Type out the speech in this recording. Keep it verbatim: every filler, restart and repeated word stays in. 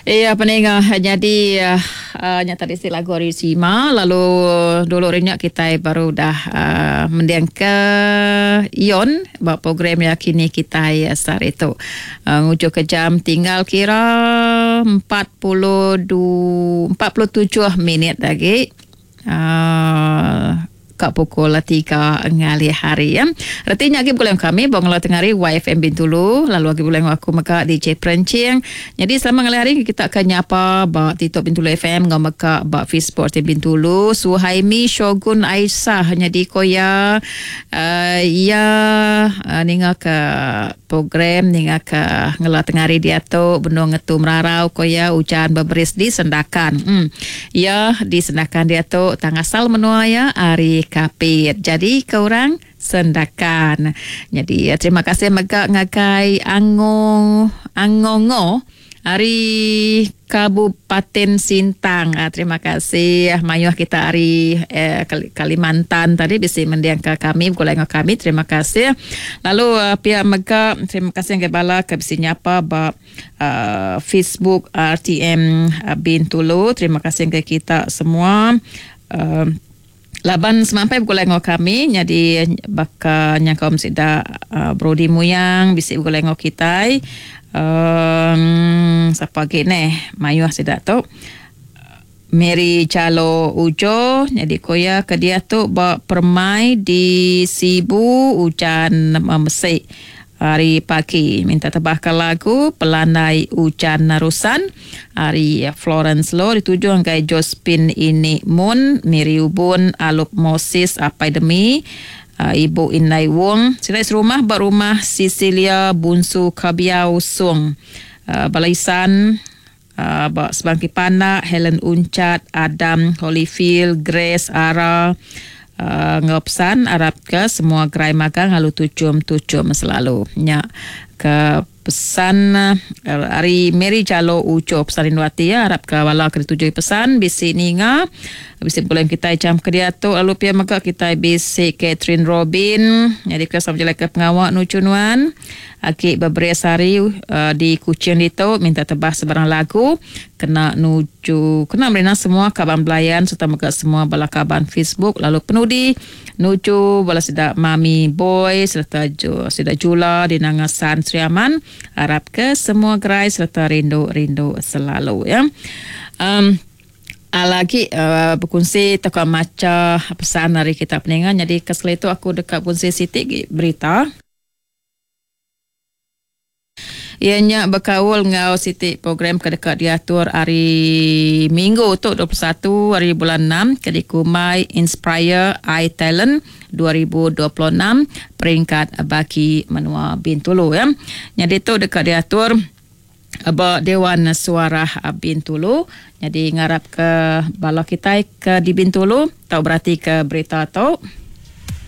Iya peninga jadi uh, nya tadi si lagu ari Sima lalu dulu hari nya kitai baru dah uh, mending ke Ion ba program ya kini kitai sehari tu. Uh, nguju ke jam tinggal kira empat puluh dua empat puluh tujuh minit lagi. Uh, Kak pukul tiga ngalih hari ya. Retinya lagi bulan kami bang lo tengah hari Y F M Bintulu lalu lagi bulan aku mega D J Perencing. Jadi selama ngalih hari kita akan nyapa ba TikTok Bintulu F M ngau mega ba Facebook Bintulu Suhaimi Shogun Aisyah jadi koya uh, ya uh, ninga ke program ninga ke ngela tengah hari dia tu benung ngetu merarau koya hujan berberis di Sendakan. Hmm. Ya di Sendakan dia tu tangasal menua ya hari Kapit. Jadi ke orang Sendakan. Jadi ya, terima kasih mega ngagai Ango Angongo hari Kabupaten Sintang. Ah, terima kasih mayuh kita hari eh, Kalimantan tadi bisi mendiang ke kami begulai dengan kami. Terima kasih. Lalu uh, pihak mega terima kasih ke bala ke bisi nyapa ba uh, Facebook R T M uh, Bintulu. Terima kasih ke kita semua. Uh, Laban semampai begulai dengan kami jadi baka nyangkom sida uh, Brody Muyang bisi begulai dengan kitai. Um, siapa lagi neh mayuh sida tu Mary Jalo Ujo jadi koya ke dia tu ba permai di Sibu hujan memesik hari pagi minta tebahkan lagu Pelandai Hujan Narusan hari Florence Lo dituju anggai Josephine ini Mun Miri Ubun Alup Moses Apai Demi uh, Ibu Inai Wong sila serumah ba rumah Cecilia Bunsu Kabiau Sung uh, Balaisan uh, ba Sebangki Pandak Helen Uncat Adam Holyfield Grace Ara Uh, ngopesan Arab ke semua gerai magang lalu tucum-tucum selalu nya ke pesan uh, hari Mary Jalo Uco pesan Rinduati ya harap ke wala ke dituju pesan bisi ninga bisi bulan kita jam ke dia tu lalu pia mega kita bisi Catherine Robin jadi ke sama jelek ke pengawak nucunuan aki beberes hari uh, di Kuching ditu minta tebah sebarang lagu kena nuju kena merina semua kaban belayan serta mega semua bala kaban Facebook lalu penudi nuju bala sidak Mami Boy serta ju, sidak Jula di Nangasan Sri Aman harap ke semua gerai serta rindu-rindu selalu ya. Um, lagi uh, berkongsi toko maca pesan dari kita peningan jadi kesel itu aku dekat kongsi siti berita. Ianya berkaul ngau siti program ke dekat diatur hari Minggu tu dua puluh satu hari bulan enam ke dikumai Inspire iTalent dua ribu dua puluh enam peringkat bagi menua Bintulu ya. Jadi tu dekat diatur ba Dewan Suara Bintulu. Jadi ngarap ke bala kita ke di Bintulu tau berarti ke berita tu.